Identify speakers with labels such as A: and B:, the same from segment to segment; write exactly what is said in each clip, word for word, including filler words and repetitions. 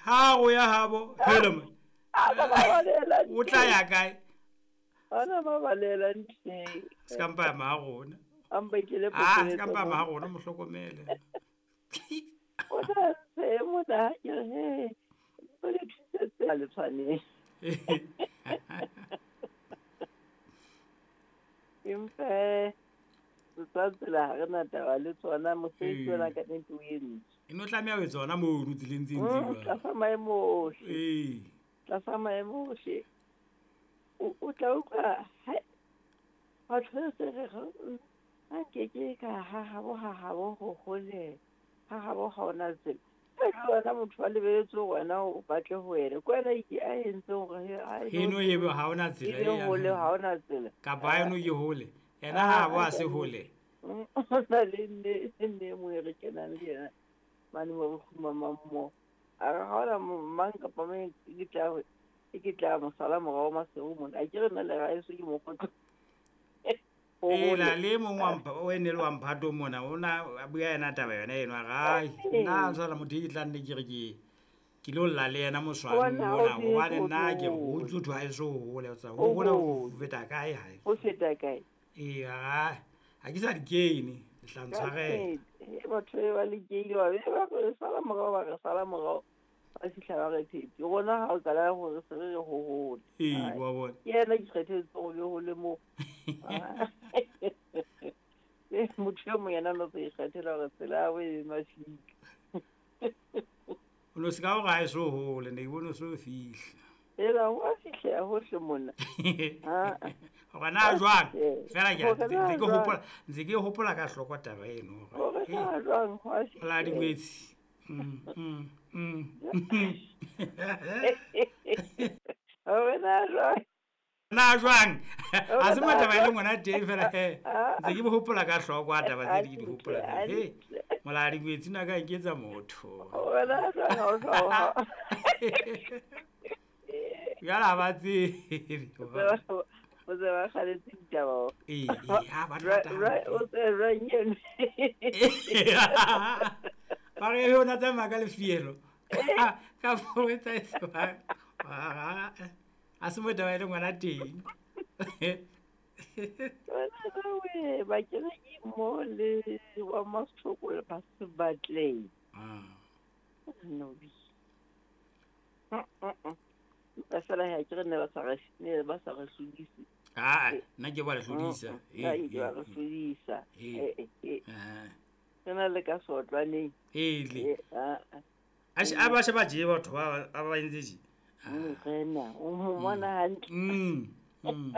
A: Ha go ya habo hele man. O tla ya kae?
B: Ana ba balela ntle.
A: Skampa ma rona.
B: Ampa ke le
A: Ah, skampa ma rona mo hlokomele.
B: O tla se mo da ke he. O le thusetse le tshwane. Empa tsa tsela re na taba le tsona mosebetsi ona ka nnete o entse.
A: E no tlameha ho tsona moo no tseleng tse ntse jwalo.
B: Tlasa maemo ohle.
A: Ee.
B: Tlasa maemo ohle. O o tla utlwa batho se re ha nke ke ka ha habo ha habo ho hole. Ha habo ha ona tsela. Wena motho wa lebeletse wena o batle ho wena. Ke wena ke a entse hore ha
A: eno ebe ha ona tsela
B: e hole ha ona tsela.
A: Kapa eno ke hole. Yena ha bo a se hole.
B: O na le nne nne mo re kenang le yena. Mane mo re kgumamang mo. A re ha ona mang kapa mang ke tla ke tla mo sala morao Maseru mona. A ke re nna le raeso ke mokgotlo.
A: Ela le mong wa mpha o ene le wa mphato mona o na bua yena taba yona eno a re ai nna tsala motho ke tla nne ke re ke ke lo lla le yena moswang mona hobane nna ke ho tsotho ha eso hole tsa ho hole ho feta kae hae
B: ho feta kae
A: ee ha ha ke sa di kene le tla ntshwarela
B: e batho ba le keile ba be ba re sala morao ba re sala morao ba fihla ba re phete rona ha o qala hore se re ho hole
A: ee wa bona
B: ke yena ke kgethetse hore ho le mo motho yo mongwe yena no se ikgethela hore tsela ya bo e mafika
A: o no se ka hore ha e so hole ne ke bone o so fihla
B: ela wa fihla hohle mona
A: hore na jwang fela ke ntse ke hopola ntse ke hopola ka hloko taba eno
B: hore na jwang hwa
A: la dingwetsi mm mm mm
B: hore na jwang
A: na jwang a se motaba e le ngwana teng fela he ntse ke hopola ka hloko a taba tse di di hopola he mola dingwetsi na ka nketsa motho
B: hore na jwang ha o sa
A: ya ba tsebe
B: o se ba kgaletse ditaba
A: ee ha ba rata
B: o se ranyeng
A: ba re yona tsamaya ka lefielo ka fo etsa e ba a se motaba e le ngwana teng
B: wena ba kene ke mo le wa Mastoko le ba se batleng
A: ah
B: no bi ba fela ha ke re ne ba sa re ne ba sa re hlodise
A: ah nna ke ba re hlodisa
B: eh ke ba re hlodisa eh eh
A: ah
B: tsena le ka sotlwaneng
A: eh le
B: ah
A: a a ba se ba je batho ba ba entse je
B: rena o mo bona hantle
A: mm mm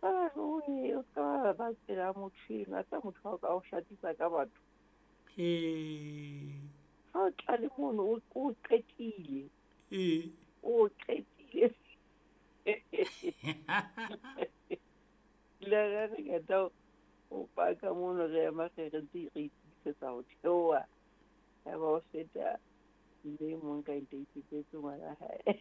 B: ah o o ka ba tsela motho ena tsa motho wa ka o shatisa ka batho
A: eh
B: ha o tla le mono o qetile
A: ee
B: o qetile le re re ka tao o paka mono re ema re re ntse re itisetsa ho theoha ya ba o feta mme mong ka ipetsetse ngwana hae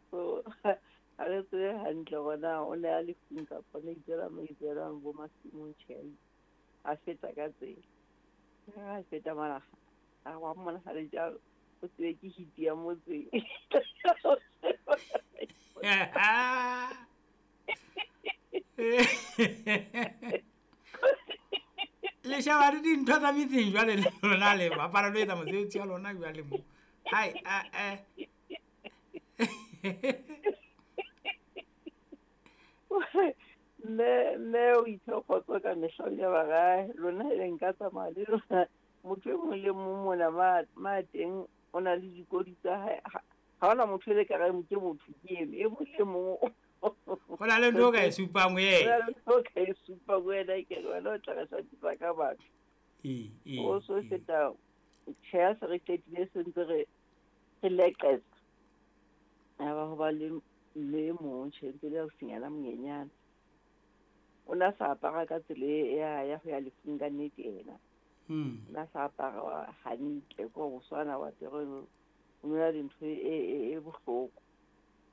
B: so ha re tsebe hantle hore na o ne a le lefung kapa ne itsela mo itselang bo masimong tjhe a feta ka tsela ha feta mara a wa mona ha le jalo o tsebe ke hiti ya motseng
A: le shaba di dintho tsa metseng jwale le lona le bapala lo etsa mosebetsi wa lona jwale mo hai a eh
B: mme mme o itse kgotso ka mehla o ile ba re lona e nka tsamaya le lona motho e mong le mong mona ma ma teng o na le dikodi tsa hae ha hona motho e le ka re ke motho ke eno e mong le mong
A: ho na le ntho o ka e supang ho yena
B: ho na le ntho o ka e supang ho yena ke re wena o tla re swatisa ka batho
A: ee ee
B: o so feta tjhe ha se re qetile se ntse re re leqetsa ya ba ho ba le mme e mong tjhe ntse le ausinyana monyenyane o na sa apara ka tsela ya ya ho ya lefung ka nnete ena
A: mm
B: o na sa apara hantle ko go swana wa apere o na le ntho e e e bohloko